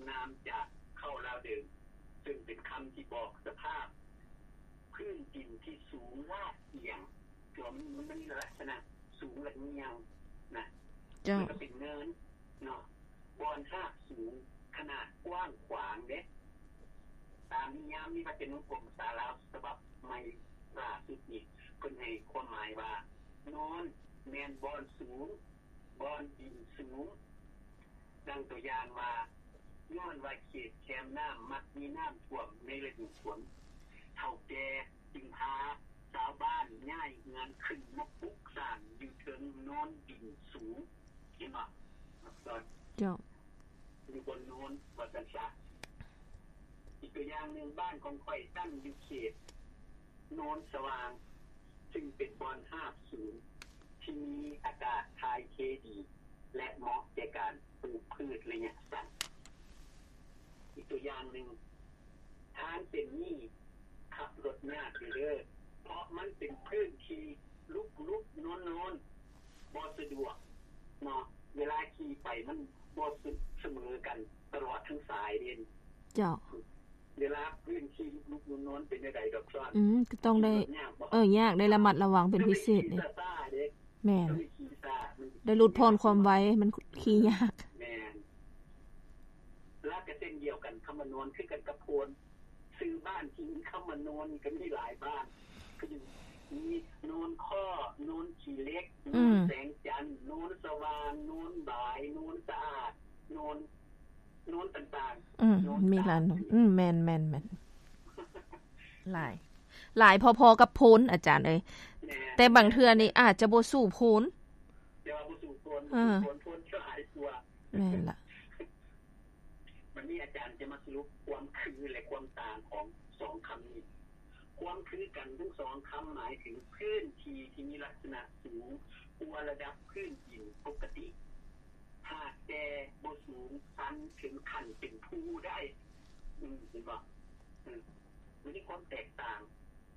ນາມຈາກເຄົ້າລາວເດີມ ເຊິ່ງເປັນຄຳທີ່ບອກສະພາບພື້ນດິນທີ່ສູງລາດອຽງ ຕົວະມັນ ມັນມີລັກສະນະສູງລະງຽງນະ. ເຈົ້າ. ມັນກໍເປັນເນີນເນາະ ບ່ອນຮາກສູງ ຂະໜາດກວ້າງຂວາງເດ້. ຕາມນິຍາມນິວາຈະນຸກົມພາສາລາວສະບັບໃໝ່ລ່າສຸດນີ້ ເພິ່ນໃຫ້ຄວາມໝາຍວ່າ ໂນນແມ່ນບ່ອນສູງ ບ່ອນດິນສູງ. ດັ່ງຕົວຢ່າງວ່າ ຍ້ອນວ່າເຂດແຄມນ້ຳມັກມີນ້ຳຖ້ວມໃນລະດູຝົນ, ເຖົ້າແກ່ຈຶ່ງພາຊາວບ້ານຍ້າຍເຮືອນຂຶ້ນມາປຸກສ້າງຢູ່ເທິງໂນນດິນສູງ. ເຫັນບໍ່? ເຈົ້າ. ຢູ່ບົນໂນນວ່າຊັ້ນຊະ. ອີກຕົວຢ່າງໜຶ່ງ, ບ້ານຂອງຂ້ອຍຕັ້ງຢູ່ເຂດໂນນສະຫວ່າງ, ຊຶ່ງເປັນບ່ອນຮາບສູງທີ່ມີອາກາດຖ່າຍເທດີ ແລະ ເໝາະແກ່ການປູກພືດໄລຍະສັ້ນ. ອີກຕົວຢ່າງໜຶ່ງ, ທາງເສັ້ນນີ້ຂັບລົດຍາກຢູ່ເດີ ເພາະມັນເປັນພື້ນທີ່ລຸບໆ ໂນນໆ ບໍ່ສະດວກເນາະ. ເວລາຂີ່ໄປມັນບໍ່ສະເໝີກັນຕະຫຼອດທັງສາຍເດ້. ເຈົ້າ. ເວລາພື້ນທີ່ລຸບໆ ໂນນໆ ເປັນແນວໃດດອກຊອນ? ອືມ ກໍຕ້ອງໄດ້ ຂີ່ລົດຍາກບໍ່? ເອີ ຍາກ ໄດ້ລະມັດລະວັງເປັນພິເສດເດ້. ແມ່ນ ໄດ້ຫຼຸດຜ່ອນຄວາມໄວ ມັນຂີ່ຍາກ. ແມ່ນ. ລະກະເຊັ່ນດຽວກັນ, ຄຳວ່າໂນນຄືກັນກັບໂພນ. ຊື່ບ້ານທີ່ມີຄຳວ່າໂນນນີ້ກໍມີຫຼາຍບ້ານ, ຄືມີໂນນຄໍ້, ໂນນຂີ້ເຫຼັກ, ອືມ ໂນນແສງຈັນ, ໂນນສະຫວ່າງ, ໂນນບາຍ, ໂນນສະອາດ, ໂນນ ໂນນຕ່າງໆ. ອືມ ໂນນ ມີຫຼາຍໂນນ. ອືມ ແມ່ນໆໆ ຫຼາຍ ຫຼາຍພໍໆກັບໂພນ ອາຈານເອີຍ. ແມ່ນ. ແຕ່ບາງເທື່ອນີ້ອາດຈະບໍ່ສູ້ໂພນ. ແຕ່ວ່າບໍ່ສູ້ໂພນ. ເອີ ໂພນ ໂພນຈະຫຼາຍກວ່າ. ແມ່ນລະ. ບັດນີ້ອາຈານຈະມາສະຫຼຸບຄວາມຄື ແລະ ຄວາມຕ່າງຂອງສອງຄຳນີ້. ຄວາມຄືກັນທັງສອງຄຳໝາຍເຖິງພື້ນທີ່ທີ່ມີລັກສະນະສູງກວ່າລະດັບພື້ນດິນປົກກະຕິ, ຫາກແຕ່ບໍ່ສູງຊັນເຖິງຂັ້ນເປັນພູໄດ້. ອືມ ເຫັນບໍ່? ອືມ ມັນມີຄວາມແຕກຕ່າງ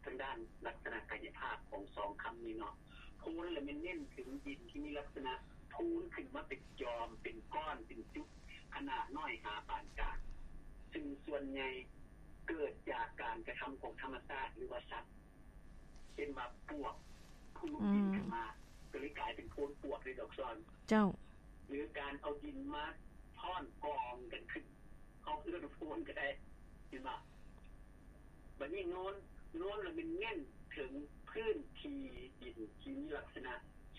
ທາງດ້ານລັກສະນະກາຍະພາບຂອງສອງຄຳນີ້ເນາະ. ໂພນລະແມ່ນເນັ້ນເຖິງດິນທີ່ມີລັກສະນະພູນຂຶ້ນມາເປັນຈອມ, ເປັນກ້ອນ, ເປັນຈຸດ, ຂະໜາດນ້ອຍຫາປານກາງ, ຊຶ່ງສ່ວນໃຫຍ່ເກີດຈາກການກະທຳຂອງທຳມະຊາດ ຫຼືວ່າສັດ. ເຊັ່ນວ່າປວກພຸ່ນ ອືມ ບິນຂຶ້ນມາ ກໍເລີຍກາຍເປັນໂພນປວກເດ້ດອກຊອນ. ເຈົ້າ. ຫຼືການເອົາດິນມາທ້ອນກອງກັນຂຶ້ນ, ເຮົາເອີ້ນວ່າໂພນກໍໄດ້. ເຫັນບໍ່? ບັດນີ້ໂນນ, ໂນນລະແມ່ນເນັ້ນເຖິງພື້ນທີ່ດິນທີ່ມີລັກສະນະ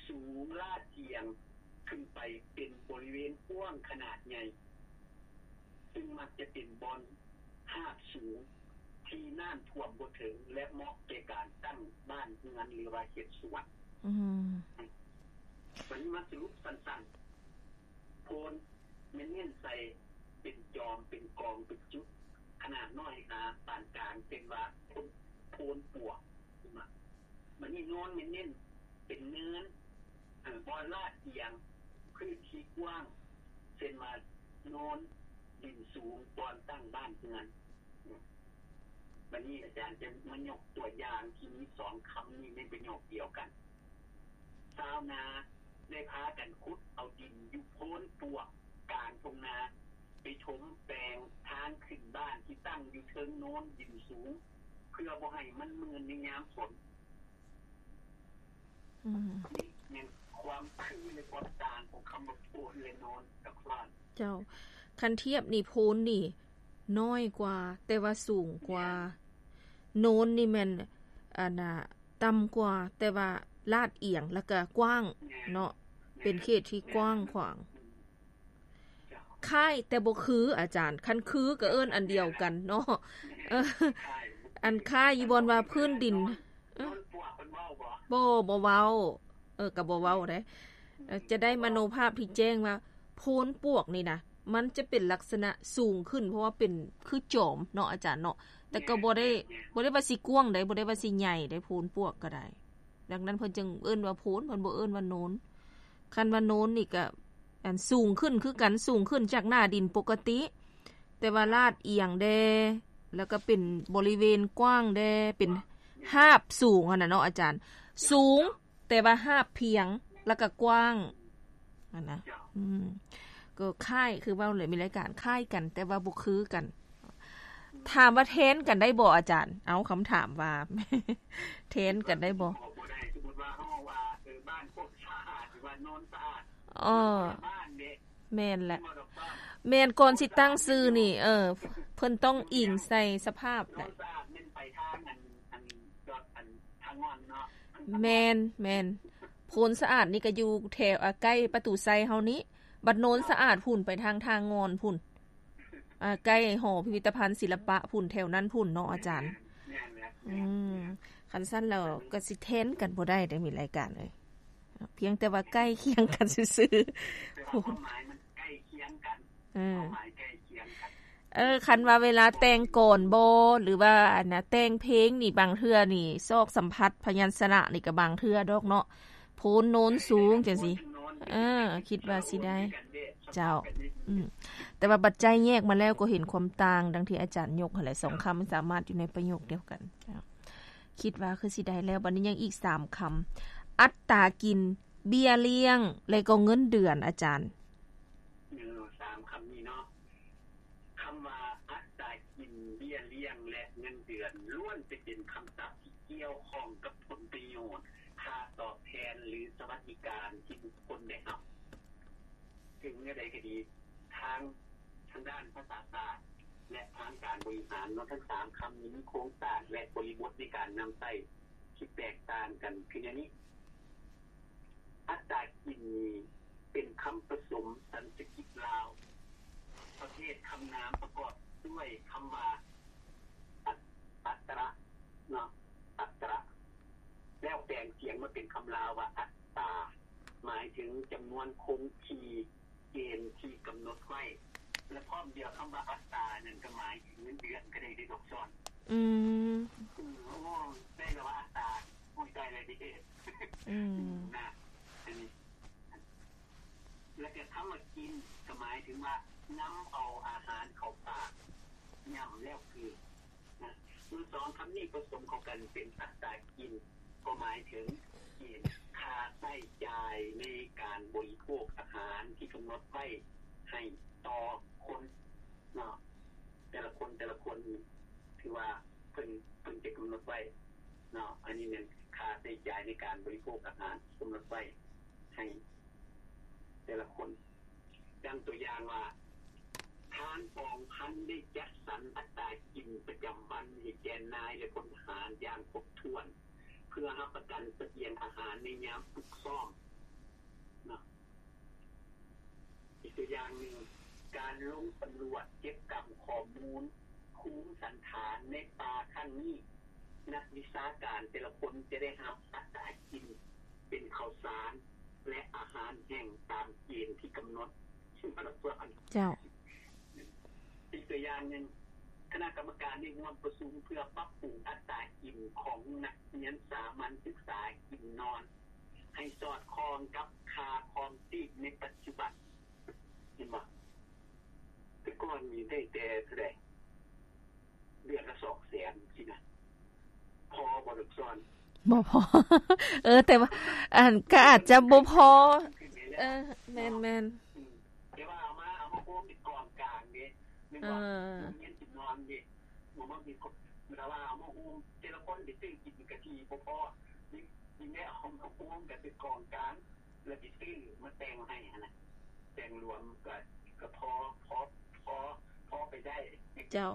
ສູງລາດອຽງຂຶ້ນໄປເປັນບໍລິເວນກວ້າງຂະໜາດໃຫຍ່, ຊຶ່ງມັກຈະເປັນບ່ອນ ຫາກສູງທີ່ນ້ຳຖ້ວມບໍ່ເຖິງ ແລະ ເໝາະແກ່ການຕັ້ງບ້ານເຮືອນ ຫຼືວ່າເຮັດສວນ. ອືມ ບັດນີ້ມາສະຫຼຸບສັ້ນໆ, ໂພນແມ່ນເນັ້ນໃສ່ເປັນຈອມ, ເປັນກອງ, ເປັນຈຸດ, ຂະໜາດນ້ອຍຫາປານກາງ, ເຊັ່ນວ່າໂພນ, ໂພນປວກ. ບັດນີ້ໂນນແມ່ນເນັ້ນເປັນເນີນ, ເອີ, ບ່ອນລາດອຽງ, ພື້ນທີ່ກວ້າງ, ເຊັ່ນວ່າໂນນ, ດິນສູງ, ບ່ອນຕັ້ງບ້ານເຮືອນ. ບັດນີ້ອາຈານຈະມາຍົກຕົວຢ່າງທີ່ມີສອງຄຳນີ້ໃນປະໂຫຍກດຽວກັນ. ຊາວນາໄດ້ພາກັນຂຸດເອົາດິນຢູ່ໂພນປວກກາງທົ່ງນາ ໄປຖົມແປງທາງຂຶ້ນບ້ານທີ່ຕັ້ງຢູ່ເທິງໂນນດິນສູງ ເພື່ອບໍ່ໃຫ້ມັນມື່ນໃນຍາມຝົນ. ອືມ ນີ້ແມ່ນຄວາມຄື ແລະ ຄວາມຕ່າງຂອງຄຳວ່າໂພນ ແລະ ໂນນກັບໂພນ. ເຈົ້າ, ຄັນທຽບນີ້ ໂພນນີ້ນ້ອຍກວ່າ ແຕ່ວ່າສູງກວ່າ. ໂນນນີ້ແມ່ນ ອັນນ່າ ຕ່ຳກວ່າ ແຕ່ວ່າລາດອຽງ ແລ້ວກະກວ້າງເນາະ, ເປັນເຂດທີ່ກວ້າງຂວາງ. ຄ້າຍແຕ່ບໍ່ຄື ອາຈານ, ຄັນຄືກໍເອີ້ນອັນດຽວກັນເນາະ. ເອີ ອັນຄ້າຍຢູ່ບ່ອນວ່າພື້ນດິນ. ເອີ ບໍ່ ບໍ່ເວົ້າ. ເອີ ກໍບໍ່ເວົ້າເດ້. ເອີ ຈະໄດ້ມະໂນພາບທີ່ແຈ້ງວ່າ ໂພນປວກນີ້ນະ ມັນຈະເປັນລັກສະນະສູງຂຶ້ນ ເພາະວ່າເປັນຄືຈອມເນາະ ອາຈານເນາະ, ແຕ່ກໍບໍ່ໄດ້ ບໍ່ໄດ້ວ່າຊິກວ້າງໃດ, ບໍ່ໄດ້ວ່າຊິໃຫຍ່ໃດ, ໂພນປວກກໍໄດ້. ດັ່ງນັ້ນເພິ່ນຈຶ່ງເອີ້ນວ່າໂພນ, ເພິ່ນບໍ່ເອີ້ນວ່າໂນນ. ຄັນວ່າໂນນນີ້ກະ ອັນ ສູງຂຶ້ນຄືກັນ, ສູງຂຶ້ນຈາກໜ້າດິນປົກກະຕິ, ແຕ່ວ່າລາດອຽງແດ່, ແລ້ວກໍເປັນບໍລິເວນກວ້າງແດ່, ເປັນຫາບສູງຫັ້ນນະເນາະອາຈານ, ສູງ ແຕ່ວ່າຫາບພຽງ ແລ້ວກໍກວ້າງຫັ້ນນະ. ອືມ ກໍຄ້າຍ ຄືເວົ້າແຫຼະ ມີລາຍການຄ້າຍກັນ ແຕ່ວ່າບໍ່ຄືກັນ. ຖາມວ່າແທນກັນໄດ້ບໍ່ອາຈານ? ເອົາ ຄຳຖາມວ່າ ແທນກັນໄດ້ບໍ່? ບໍ່ໄດ້. ສົມມຸດວ່າເຮົາເວົ້າວ່າ ເອີ ບ້ານໂຄກສະອາດ ຫຼືວ່າໂນນສະອາດ ເອີ ຄົນລະບ້ານເດ້. ແມ່ນແຫຼະ ແມ່ນບໍ່ດອກ ແມ່ນ ກ່ອນຊິຕັ້ງຊື່ນີ້ ເອີ ເພິ່ນຕ້ອງອີງໃສ່ສະພາບແຫຼະ. ໂນນສະອາດແມ່ນໄປທາງອັນ ອັນ ດອດ ອັນ ທາງງອນເນາະ. ແມ່ນ ແມ່ນ ໂພນສະອາດນີ້ກໍຢູ່ແຖວ ອາ ໃກ້ປະຕູໄຊເຮົານີ້ ບັດໂນນສະອາດພຸ້ນ ໄປທາງທ່າງ່ອນພຸ້ນ ອາ ໃກ້ຫໍພິພິທະພັນສິລະປະພຸ້ນ ແຖວນັ້ນພຸ້ນເນາະອາຈານ. ແມ່ນແຫຼະ ອືມ ຄັນຊັ້ນແລ້ວກໍຊິແທນກັນບໍ່ໄດ້ເດ້ ມີລາຍການເອີຍ ພຽງແຕ່ວ່າໃກ້ຄຽງກັນຊື່ໆ. ແຕ່ວ່າຄວາມໝາຍມັນໃກ້ຄຽງກັນ ເອີ ຄວາມໝາຍໃກ້ຄຽງກັນ. ເອີ ຄັນວ່າເວລາແຕ່ງກອນບໍ ຫຼືວ່າອັນນະ ແຕ່ງເພງນີ້ ບາງເທື່ອນີ້ ຊອກສຳພັດພະຍັນຊະນະນີ້ກໍບາງເທື່ອດອກເນາະ ໂພນໂນນສູງຈັ່ງຊີ້. ເອີ ຄິດວ່າຊິໄດ້ ເຈົ້າ ອືມ ແຕ່ວ່າບັດໃຈແຍກມາແລ້ວກໍເຫັນຄວາມຕ່າງ ດັ່ງທີ່ອາຈານຍົກຫັ້ນແຫຼະ ສອງຄຳມັນສາມາດຢູ່ໃນປະໂຫຍກດຽວກັນ. ເຈົ້າ ຄິດວ່າຄືຊິໄດ້ແລ້ວ. ບັດນີ້ຍັງອີກສາມຄຳ ອັດຕາກິນ, ເບ້ຍລ້ຽງ ແລະກໍເງິນເດືອນ ອາຈານ. ເອີ ສາມຄຳນີ້ເນາະ ຄຳວ່າອັດຕາກິນ, ເບ້ຍລ້ຽງ ແລະເງິນເດືອນ ລ້ວນແຕ່ເປັນຄຳສັບທີ່ກ່ຽວຂ້ອງກັບຜົນປະໂຫຍດ, ຄ່າຕອບແທນ ຫຼື ສະຫວັດດີການທີ່ບຸກຄົນໄດ້ຮັບ. ເຖິງແນວໃດກໍດີ, ທາງ ທາງດ້ານພາສາສາດ ແລະ ທາງການບໍລິຫານເນາະ, ທັງສາມຄຳນີ້ມີໂຄງສ້າງ ແລະ ບໍລິບົດໃນການນຳໃຊ້ທີ່ແຕກຕ່າງກັນຄືແນວນີ້. ອັດຕາກິນນີ້ເປັນຄຳປະສົມສັນສະກິດລາວ ປະເພດຄຳນາມປະກອບດ້ວຍຄຳວ່າ ອັດ ອັດຕະ ເນາະ ອັດຕະ ແລ້ວແປງສຽງມາເປັນຄຳລາວວ່າ ອັດຕາ ໝາຍເຖິງຈຳນວນຄົງທີ່ ເກນທີ່ກຳນົດໄວ້ ແລະ ພ້ອມດຽວຄຳວ່າອັດຕານັ້ນກໍໝາຍເຖິງເງິນເດືອນກໍໄດ້ເດ້ ດອກຊອນ. ອືມ ອືມ ໂອ້ ໄດ້ລະວ່າອັດຕາ ໂອ້ຍ ໄດ້ລະເດ້. ອືມ ນະ ອັນນີ້ ແລະ ກໍຄຳວ່າກິນ ກໍໝາຍເຖິງວ່ານຳເອົາອາຫານເຂົ້າປາກ ຫຍ້ຳແລ້ວຄືນ. ນະ ເມື່ອສອງຄຳນີ້ປະສົມເຂົ້າກັນເປັນອັດຕາກິນ ກໍໝາຍເຖິງເກນຄ່າໃຊ້ຈ່າຍໃນການບໍລິໂພກອາຫານທີ່ກຳນົດໄວ້ໃຫ້ຕໍ່ຄົນເນາະ ແຕ່ລະຄົນ ແຕ່ລະຄົນ ຖືວ່າເພິ່ນ ເພິ່ນຈະກຳນົດໄວ້ເນາະ ອັນນີ້ແມ່ນຄ່າໃຊ້ຈ່າຍໃນການບໍລິໂພກອາຫານທີ່ກຳນົດໄວ້ໃຫ້ແຕ່ລະຄົນ. ດັ່ງຕົວຢ່າງວ່າ ທາງກອງພັນໄດ້ຈັດສັນອັດຕາກິນປະຈຳວັນໃຫ້ແກ່ນາຍ ແລະ ພົນທະຫານຢ່າງຄົບຖ້ວນ ເພື່ອຮັບປະກັນສະບຽງອາຫານໃນຍາມຝຶກຊ້ອມເນາະ. ອີກຕົວຢ່າງໜຶ່ງ, ການລົງສຳຫຼວດເກັບກຳຂໍ້ມູນພູມສັນຖານໃນປ່າຄັ້ງນີ້, ນັກວິຊາການແຕ່ລະຄົນຈະໄດ້ຮັບອັດຕາກິນເປັນເຂົ້າສານ ແລະ ອາຫານແຫ້ງຕາມເກນທີ່ກຳນົດ. ເຈົ້າ. ອີກຕົວຢ່າງໜຶ່ງ, ຄະນະກຳມະການໄດ້ຮ່ວມປະຊຸມເພື່ອປັບປຸງອັດຕາກິນຂອງນັກຮຽນສາມັນສຶກສາກິນນອນ ໃຫ້ສອດຄ່ອງກັບຄ່າຄອງຊີບໃນປັດຈຸບັນ. ເຫັນບໍ່? ແຕ່ກ່ອນນີ້ໄດ້ແຕ່ເທົ່າໃດ? ເດືອນລະສອງແສນຊີ້ນະ ພໍບໍ່ ດອກຊອນ? ບໍ່ພໍ. ເອີ ແຕ່ວ່າ ອັນ ກໍອາດຈະບໍ່ພໍ. ເອີ ແມ່ນໆ. ອືມ ແຕ່ວ່າເອົາມາ ເອົາມາໂຮມເປັນກອງກາງເດ້ ແມ່ນບໍ່? ເອີ ໂຮງຮຽນກິນນອນເດ້ ບໍ່ມາມີຄົນ ແຕ່ວ່າເອົາມາໂຮມ ແຕ່ລະຄົນໄປຊື້ກິນກະຊິບໍ່ພໍ ຍິ່ງ ຍິ່ງໄດ້ເອົາມາໂຮມກັນເປັນກອງກາງ ແລ້ວຊິຊື້ມາແຕ່ງໃຫ້ຫັ້ນນະ ແຕ່ງລວມກໍ ກໍພໍ ພໍ ພໍ ພໍໄປໄດ້. ເຈົ້າ.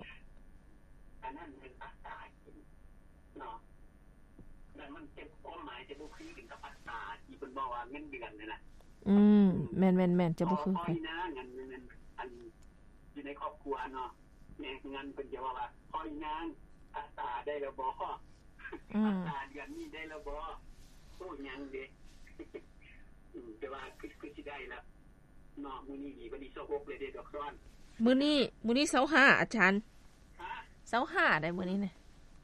ອັນນັ້ນແມ່ນອັດຕາກິນເນາະ ແລ້ວມັນຈະ ຄວາມໝາຍຈະບໍ່ຄືກັນກັບອັດຕາທີ່ເພິ່ນເວົ້າວ່າເງິນເດືອນຫັ້ນນະ. ອືມ ແມ່ນໆໆ ຈະບໍ່ຄືກັນ. ພໍ່ອີ່ນາງ ອັນ ອັນ ຢູ່ໃນຄອບຄົວເນາະ ແມ່ເຮືອນເພິ່ນຈະເວົ້າວ່າ ພໍ່ອີ່ນາງ ອັດຕາໄດ້ແລ້ວບໍ່? ອືມ ອັດຕາເດືອນນີ້ໄດ້ແລ້ວບໍ່? ໂອ້ ຍັງເດ້. ອືມ ແຕ່ວ່າຄື ຄືຊິໄດ້ລະເນາະ ມື້ນີ້ນີ້ ວັນທີຊາວຫົກແລ້ວເດ້ ດອກຊອນ. ມື້ນີ້ ມື້ນີ້ຊາວຫ້າ ອາຈານ. ຮະ? ຊາວຫ້າໄດ໋ມື້ນີ້ນະ.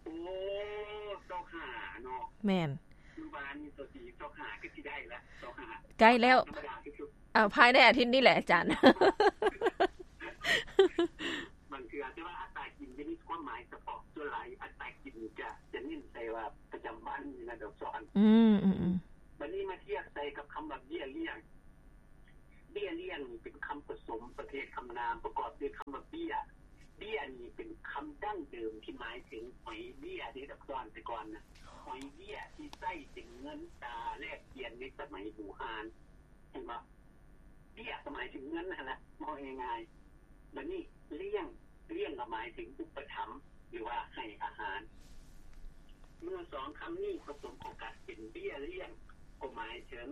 ໂອ້ ຊາວຫ້າເນາະ. ແມ່ນ. ມື້ວານນີ້ຊາວສີ່ ຊາວຫ້າ ກໍຊິໄດ້ລະ ຊາວຫ້າ ໃກ້ແລ້ວ. ທຳມະດາທີ່ສຸດ ເອົາ ພາຍໃນອາທິດນີ້ແຫຼະອາຈານ. ບາງເທື່ອ ແຕ່ວ່າອັດຕາກິນຈະມີຄວາມໝາຍສະເພາະ, ສ່ວນຫຼາຍອັດຕາກິນຈະ ຈະເນັ້ນໃສ່ວ່າປະຈຳວັນນີ້ນະ ດອກຊອນ. ອືມ ອືມ ອືມ. ບັດນີ້ມາທຽບໃສ່ກັບຄຳວ່າເບ້ຍລ້ຽງ. ເບ້ຍລ້ຽງນີ້ເປັນຄຳປະສົມ ວ່າເບ້ຍ. ເບ້ຍນີ້ເປັນຄຳດັ້ງເດີມທີ່ໝາຍເຖິງຫອຍເບ້ຍເດ້ ດອກຊອນ, ແຕ່ກ່ອນນະ ຫອຍເບ້ຍທີ່ໃຊ້ເປັນເງິນຕາແລກປ່ຽນໃນສະໄໝບູຮານ, ເຫັນບໍ່? ເບ້ຍກໍໝາຍເຖິງເງິນຫັ້ນລະ ເວົ້າງ່າຍໆ. ບັດນີ້ລ້ຽງ, ລ້ຽງກໍໝາຍເຖິງອຸປະຖຳ ຫຼືວ່າໃຫ້ອາຫານ. ເມື່ອສອງຄຳນີ້ປະສົມເຂົ້າກັນເປັນເບ້ຍລ້ຽງ ກໍໝາຍເຖິງ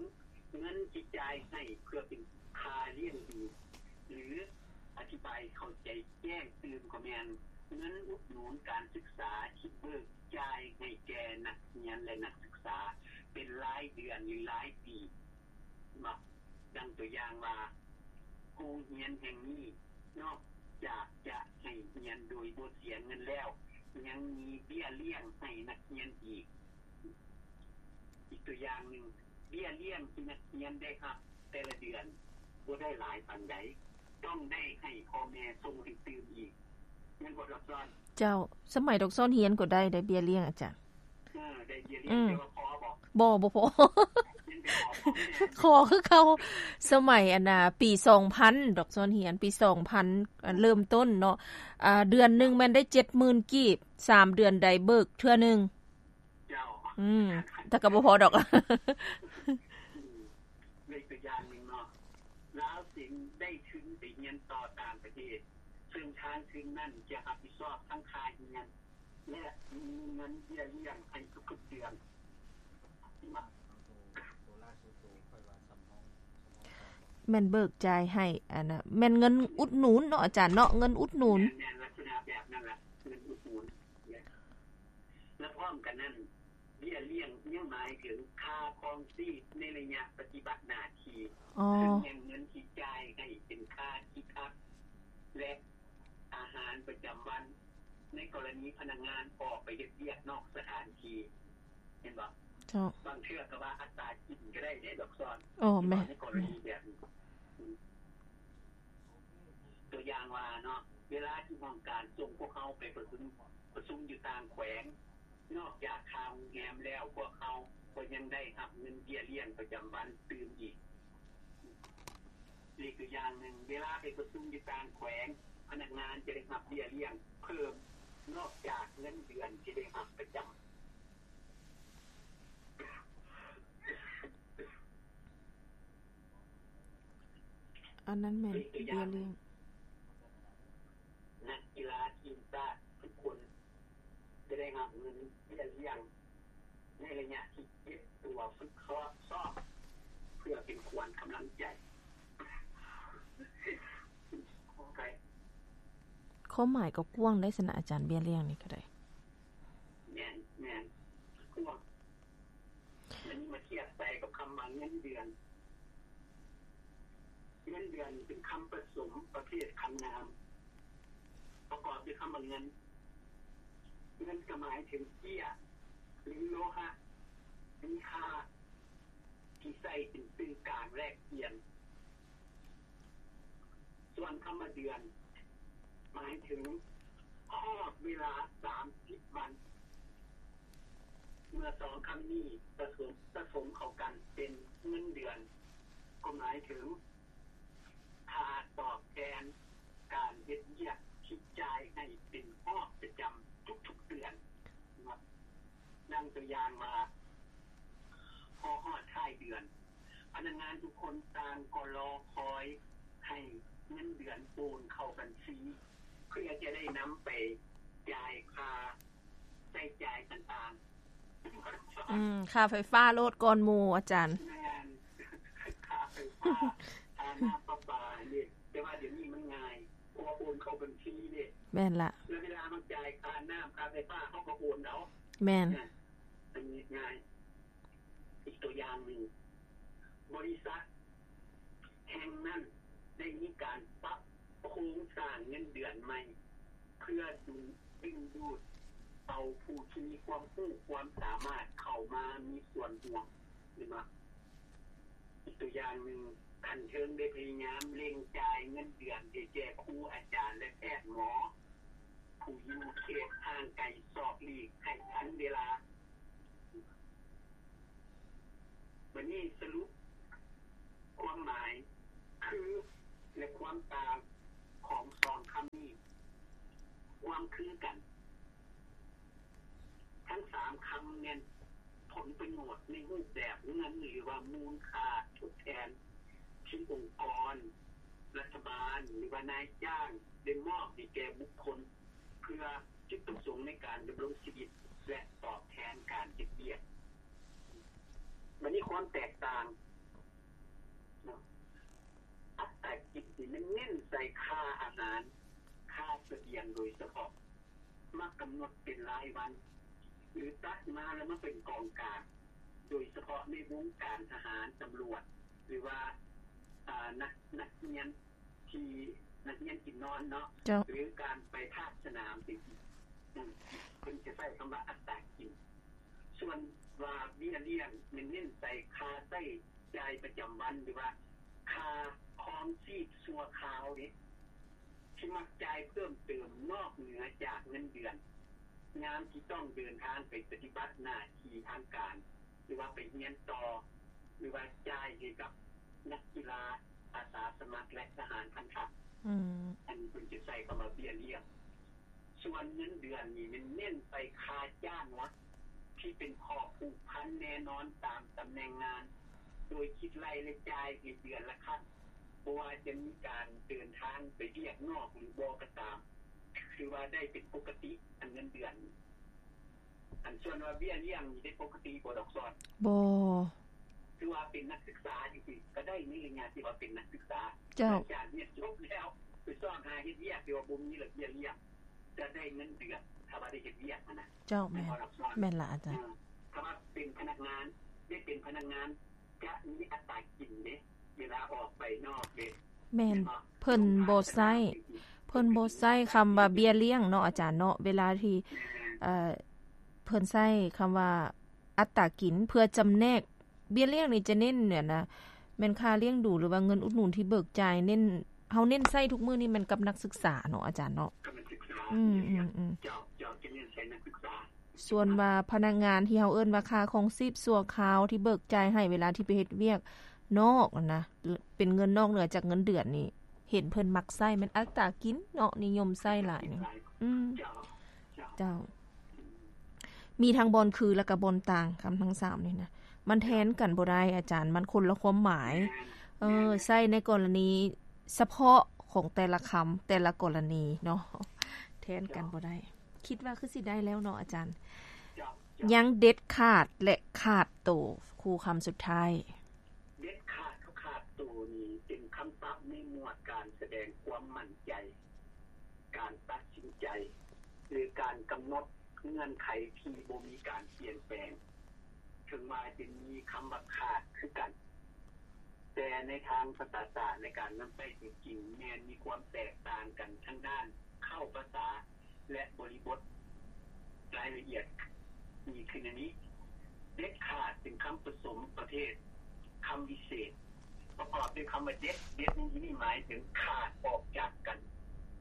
ເງິນທີ່ຈ່າຍໃຫ້ເພື່ອເປັນຄ່າລ້ຽງດູ ຫຼື ອະທິບາຍໃຫ້ເຂົ້າໃຈແຈ້ງຕື່ມກໍແມ່ນເງິນອຸດໜູນການສຶກສາທີ່ເບີກຈ່າຍໃຫ້ແກ່ນັກຮຽນ ແລະ ນັກສຶກສາເປັນລາຍເດືອນ ຫຼື ລາຍປີ. ເນາະ ດັ່ງຕົວຢ່າງວ່າ ໂຮງຮຽນແຫ່ງນີ້ນອກຈາກຈະໃຫ້ຮຽນໂດຍບໍ່ເສຍເງິນແລ້ວ ຍັງມີເບ້ຍລ້ຽງໃຫ້ນັກຮຽນອີກ. ອີກຕົວຢ່າງໜຶ່ງ, ເບ້ຍລ້ຽງທີ່ນັກຮຽນໄດ້ຮັບແຕ່ລະເດືອນບໍ່ໄດ້ຫຼາຍປານໃດ, ຕ້ອງໄດ້ໃຫ້ພໍ່ແມ່ສົ່ງໃຫ້ຕື່ມອີກ. ແມ່ນບໍ່ດອກຊອນ? ເຈົ້າ, ສະໄໝດອກຊອນຮຽນກໍໄດ້ໄດ໋ເບ້ຍລ້ຽງອາຈານ. ເອີ ໄດ້ເບ້ຍລ້ຽງ ອືມ ແຕ່ວ່າພໍບໍ່? ບໍ່, ບໍ່ພໍ. ຍັງໄປຂໍພໍ່ແມ່ ຂໍຄືເກົ່າ. ສະໄໝອັນນ່າ ປີສອງພັນ ດອກຊອນຮຽນ ປີສອງພັນ ອັນເລີ່ມຕົ້ນເນາະ, ອ່າ ເດືອນໜຶ່ງແມ່ນໄດ້ເຈັດໝື່ນກີບ, ສາມເດືອນໃດເບີກເທື່ອໜຶ່ງ. ເຈົ້າ. ອືມ ແຕ່ກໍບໍ່ພໍດອກ. ອືມ ເລີຍຕົວຢ່າງໜຶ່ງເນາະ, ລາວຈຶ່ງໄດ້ທຶນໄປຮຽນຕໍ່ຕ່າງປະເທດ, ເຊິ່ງທາງທຶນນັ້ນຈະຮັບຜິດຊອບທັງຄ່າຮຽນ ແລະ ມີເງິນເບ້ຍລ້ຽງໃຫ້ທຸກໆເດືອນ. ແມ່ນເບີກຈ່າຍໃຫ້ ອັນນ່າ ແມ່ນເງິນອຸດໜູນເນາະອາຈານເນາະ, ເງິນອຸດໜູນ. ແມ່ນ, ແມ່ນລັກສະນະແບບນັ້ນລະ, ເງິນອຸດໜູນ. ແລະ ພ້ອມກັນນັ້ນ ເບ້ຍລ້ຽງຍັງໝາຍເຖິງຄ່າຄອງຊີບໃນໄລຍະປະຕິບັດໜ້າທີ່, ອໍ ເຊິ່ງແມ່ນເງິນທີ່ຈ່າຍໃຫ້ເປັນຄ່າທີ່ພັກ ແລະ ອາຫານປະຈຳວັນ ໃນກໍລະນີພະນັກງານອອກໄປເຮັດວຽກນອກສະຖານທີ່, ເຫັນບໍ່? ເຈົ້າ. ບາງເທື່ອກໍວ່າອັດຕາກິນກໍໄດ້ເດ້ດອກຊອນ. ໂອ້ ແມ່ນ. ໃນກໍລະນີແບບນີ້ ອືມ ຕົວຢ່າງວ່າເນາະ, ເວລາທີ່ຫ້ອງການສົ່ງພວກເຮົາໄປປະຊຸມ, ປະຊຸມຢູ່ຕ່າງແຂວງ, ນອກຈາກຄ່າໂຮງແຮມແລ້ວ, ພວກເຮົາກໍຍັງໄດ້ຮັບເງິນເບ້ຍລ້ຽງປະຈຳວັນຕື່ມອີກ. ອີກຕົວຢ່າງໜຶ່ງ, ເວລາໄປປະຊຸມຢູ່ຕ່າງແຂວງ, ພະນັກງານຈະໄດ້ຮັບເບ້ຍລ້ຽງເພີ່ມ ນອກຈາກເງິນເດືອນທີ່ໄດ້ຮັບປະຈຳ. ອັນນັ້ນແມ່ນເບ້ຍລ້ຽງ. ນັກກິລາທີມຊາດທຸກຄົນຈະໄດ້ຮັບເງິນເບ້ຍລ້ຽງໃນໄລຍະທີ່ເກັບຕົວຝຶກຊ້ອມ ເພື່ອເປັນຂວັນກຳລັງໃຈ. ຄວາມໝາຍກໍກວ້າງໄດ໋ຊັ້ນນະອາຈານ, ເບ້ຍລ້ຽງນີ້ກໍໄດ້. ແມ່ນ, ແມ່ນ. ກວ້າງ. ແລ້ວນີ້ມາທຽບໃສ່ກັບຄຳວ່າເງິນເດືອນ. ເງິນເດືອນເປັນຄຳປະສົມປະເພດຄຳນາມ ປະກອບດ້ວຍຄຳວ່າເງິນ. ເງິນກໍໝາຍເຖິງເຈ້ຍ ຫຼື ໂລຫະມີຄ່າ ທີ່ໃຊ້ເປັນສື່ກາງແລກປ່ຽນ. ສ່ວນຄຳວ່າເດືອນ ໝາຍເຖິງຮອບເວລາສາມສິບວັນ. ເມື່ອສອງຄຳນີ້ປະສົມ, ປະສົມເຂົ້າກັນເປັນເງິນເດືອນ ກໍໝາຍເຖິງຄ່າຕອບແທນການເຮັດວຽກທີ່ຈ່າຍໃຫ້ເປັນຮອບປະຈຳທຸກໆເດືອນ. ດັ່ງຕົວຢ່າງວ່າ ພໍຮອດທ້າຍເດືອນ ພະນັກງານທຸກຄົນຕ່າງກໍລໍຄອຍໃຫ້ເງິນເດືອນໂອນເຂົ້າບັນຊີ ເພື່ອຈະໄດ້ນຳໄປຈ່າຍຄ່າໃຊ້ຈ່າຍຕ່າງໆ. ອືມ ຄ່າໄຟຟ້າໂລດກ່ອນໝູ່ ອາຈານ. ແມ່ນ. ຄ່າໄຟຟ້າ, ຄ່ານ້ຳປະປານີ້. ແຕ່ວ່າດຽວນີ້ມັນງ່າຍ ເພາະວ່າໂອນເຂົ້າບັນຊີເດ້. ແມ່ນລະ. ແລ້ວເວລາເຮົາຈ່າຍຄ່ານ້ຳ ຄ່າໄຟຟ້າ ເຮົາກໍໂອນເອົາ. ແມ່ນ. ອັນນີ້ງ່າຍ. ອີກຕົວຢ່າງໜຶ່ງ, ບໍລິສັດແຫ່ງນັ້ນໄດ້ມີການປັບໂຄງສ້າງເງິນເດືອນໃໝ່ ເພື່ອດຶງ, ດຶງດູດເອົາຜູ້ທີ່ມີຄວາມຮູ້ຄວາມສາມາດເຂົ້າມາມີສ່ວນຮ່ວມ. ເຫັນບໍ່? ອີກຕົວຢ່າງໜຶ່ງ, ຂັ້ນເທິງໄດ້ພະຍາຍາມເລັ່ງຈ່າຍເງິນເດືອນໃຫ້ແກ່ຄູອາຈານ ແລະ ແພດໝໍ ຜູ້ຢູ່ເຂດຫ່າງໄກສອກຫຼີກໃຫ້ທັນເວລາ. ບັດນີ້ສະຫຼຸບຄວາມໝາຍຄື ແລະ ຄວາມຕ່າງຂອງ ສອງຄຳນີ້ ຄວາມຄືກັນ ທັງສາມຄຳແມ່ນຜົນປະໂຫຍດໃນຮູບແບບເງິນ ຫຼືວ່າມູນຄ່າທົດແທນ ທີ່ອົງກອນ, ລັດຖະບານ ຫຼືວ່ານາຍຈ້າງໄດ້ມອບໃຫ້ແກ່ບຸກຄົນ ເພື່ອຈຸດປະສົງໃນການດຳລົງຊີວິດ ແລະ ຕອບແທນການເຮັດວຽກ. ບັດນີ້ຄວາມແຕກຕ່າງເນາະ ອັດຕາກິນນີ້ມັນເນັ້ນໃສ່ຄ່າອາຫານ, ຄ່າສະບຽງໂດຍສະເພາະ ມັກກຳນົດເປັນລາຍວັນ ຫຼື ຕັດມາແລ້ວມາເປັນກອງກາງ ໂດຍສະເພາະໃນວົງການທະຫານ, ຕຳຫຼວດ ຫຼືວ່າ ອາ ນັກ ນັກຮຽນທີ່ ນັກຮຽນກິນນອນເນາະ ເຈົ້າ ຫຼື ການໄປພາກສະໜາມຈັ່ງຊີ້ ອືມ ເພິ່ນຈະໃຊ້ຄຳວ່າອັດຕາກິນ. ສ່ວນວ່າເບ້ຍລ້ຽງແມ່ນເນັ້ນໃສ່ຄ່າໃຊ້ຈ່າຍປະຈຳວັນ ຫຼືວ່າຄ່າຄອງຊີບຊົ່ວຄາວເດ້ ທີ່ມັກຈ່າຍເພີ່ມເຕີມນອກເໜືອຈາກເງິນເດືອນ ຍາມທີ່ຕ້ອງເດີນທາງໄປປະຕິບັດໜ້າທີ່ທາງການ ຫຼືວ່າໄປຮຽນຕໍ່ ຫຼືວ່າຈ່າຍໃຫ້ກັບນັກກິລາອາສາສະໝັກ ແລະ ທະຫານພັນທະ. ອືມ ອັນນີ້ເພິ່ນຈະໃຊ້ຄຳວ່າເບ້ຍລ້ຽງ. ສ່ວນເງິນເດືອນນີ້ແມ່ນເນັ້ນໃສ່ຄ່າຈ້າງຫຼັກ ທີ່ເປັນຂໍ້ຜູກພັນແນ່ນອນຕາມຕຳແໜ່ງງານ ໂດຍຄິດໄລ່ ແລະ ຈ່າຍໃຫ້ເດືອນລະຄັ້ງ ບໍ່ວ່າຈະມີການເດີນທາງໄປວຽກນອກ ຫຼື ບໍ່ກໍຕາມ ຖືວ່າໄດ້ເປັນປົກກະຕິ. ອັນເງິນເດືອນ ອັນສ່ວນວ່າເບ້ຍລ້ຽງນີ້ໄດ້ປົກກະຕິບໍ່ ດອກຊອນ? ບໍ່. ຄືວ່າເປັນນັກສຶກສາຈັ່ງຊີ້ ກໍໄດ້ໃນໄລຍະທີ່ວ່າເປັນນັກສຶກສາ. ເຈົ້າ. ຫຼັງຈາກຮຽນຈົບແລ້ວ ໄປຊອກຫາເຮັດວຽກທີ່ວ່າບໍ່ມີລະເບັບເບ້ຍລ້ຽງ ຈະໄດ້ເງິນເດືອນ ຖ້າວ່າໄດ້ເຮັດວຽກຫັ້ນນະ. ເຈົ້າ ແມ່ນ ແມ່ນລະອາຈານ. ເອີ ຖ້າວ່າເປັນພະນັກງານ ໄດ້ເປັນພະນັກງານ ຈະມີອັດຕາກິນເດ້ ເວລາອອກໄປນອກເດ້. ແມ່ນ ເພິ່ນບໍ່ໃຊ້ ເພິ່ນບໍ່ໃຊ້ຄຳວ່າເບ້ຍລ້ຽງເນາະອາຈານເນາະ ເວລາທີ່ ເອີ ເພິ່ນໃຊ້ຄຳວ່າອັດຕາກິນ ເພື່ອຈຳແນກ ເບ້ຍລ້ຽງນີ້ຈະເນັ້ນແມ່ນຄ່າລ້ຽງດູ ຫຼືວ່າເງິນອຸດໜູນທີ່ເບີກຈ່າຍ ເນັ້ນ ເຮົາເນັ້ນໃຊ້ທຸກມື້ນີ້ແມ່ນກັບນັກສຶກສາເນາະອາຈານເນາະ. ອືມ ເຈົ້າ ເຈົ້າ ຈະເນັ້ນໃສ່ນັກສຶກສາ. ສ່ວນວ່າພະນັກງານທີ່ເຮົາເອີ້ນວ່າຄ່າຄອງຊີບຊົ່ວຄາວ ທີ່ເບີກຈ່າຍໃຫ້ເວລາທີ່ໄປເຮັດວຽກນອກຫັ້ນນະ ເປັນເງິນນອກເໜືອຈາກເງິນເດືອນນີ້ ເຫັນເພິ່ນມັກໃຊ້ແມ່ນອັດຕາກິນເນາະ ນິຍົມໃຊ້ຫຼາຍນີ້. ອືມ ເຈົ້າ ເຈົ້າ ມີທັງບ່ອນຄື ແລ້ວກໍບ່ອນຕ່າງ ຄຳທັງສາມນີ້ນະ ມັນແທນກັນບໍ່ໄດ້ອາຈານ ມັນຄົນລະຄວາມໝາຍ. ເອີ ໃຊ້ໃນກໍລະນີສະເພາະຂອງແຕ່ລະຄຳ ແຕ່ລະກໍລະນີເນາະ ແທນກັນບໍ່ໄດ້. ຄິດວ່າຄືຊິໄດ້ແລ້ວເນາະອາຈານ. ເຈົ້າ ເຈົ້າ ຍັງເດັດຂາດ ແລະ ຂາດໂຕ ຄູ່ຄຳສຸດທ້າຍ. ເດັດຂາດກັບຂາດໂຕນີ້ເປັນຄຳສັບໃນໝວດການສະແດງຄວາມໝັ້ນໃຈ, ການຕັດສິນໃຈ ຫຼື ການກຳນົດເງື່ອນໄຂທີ່ບໍ່ມີການປ່ຽນແປງ. ເຖິງວ່າຈະມີຄຳວ່າຂາດຄືກັນ, ແຕ່ໃນທາງພາສາສາດ ໃນການນຳໃຊ້ຕົວຈິງ ແມ່ນມີຄວາມແຕກຕ່າງກັນທາງດ້ານເຄົ້າພາສາ ແລະ ບໍລິບົດ. ລາຍລະອຽດມີຄືແນວນີ້. ເດັດຂາດເປັນຄຳປະສົມປະເພດຄຳວິເສດ ປະກອບດ້ວຍຄຳວ່າເດັດ. ເດັດໃນທີ່ນີ້ໝາຍເຖິງຂາດອອກຈາກກັນ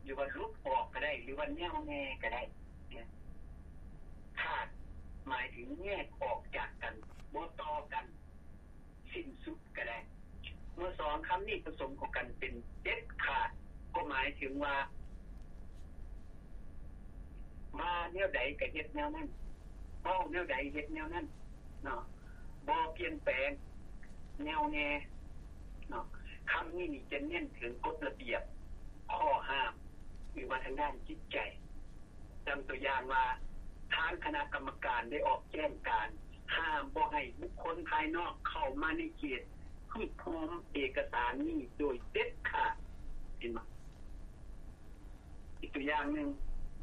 ຫຼືວ່າຫຼຸດອອກກໍໄດ້ ຫຼືວ່າແນວແນ່ກໍໄດ້. ຂາດໝາຍເຖິງແຍກອອກຈາກກັນ, ບໍ່ຕໍ່ກັນ, ສິ້ນສຸດກໍໄດ້. ເມື່ອສອງຄຳນີ້ປະສົມເຂົ້າກັນເປັນເດັດຂາດ ກໍໝາຍເຖິງວ່າ ວ່າແນວໃດກໍເຮັດແນວນັ້ນ, ເວົ້າແນວໃດເຮັດແນວນັ້ນເນາະ, ບໍ່ປ່ຽນແປງ, ແນວແນ່ເນາະ. ຄຳນີ້ນີ້ຈະເນັ້ນເຖິງກົດລະບຽບ, ຂໍ້ຫ້າມ ຫຼືວ່າທາງດ້ານຈິດໃຈ. ດັ່ງຕົວຢ່າງວ່າ ທາງຄະນະກຳມະການໄດ້ອອກແຈ້ງການຫ້າມບໍ່ໃຫ້ບຸກຄົນພາຍນອກເຂົ້າມາໃນເຂດຮວບຮວມເອກະສານນີ້ໂດຍເດັດຂາດ. ເຫັນບໍ່? ອີກຕົວຢ່າງໜຶ່ງ,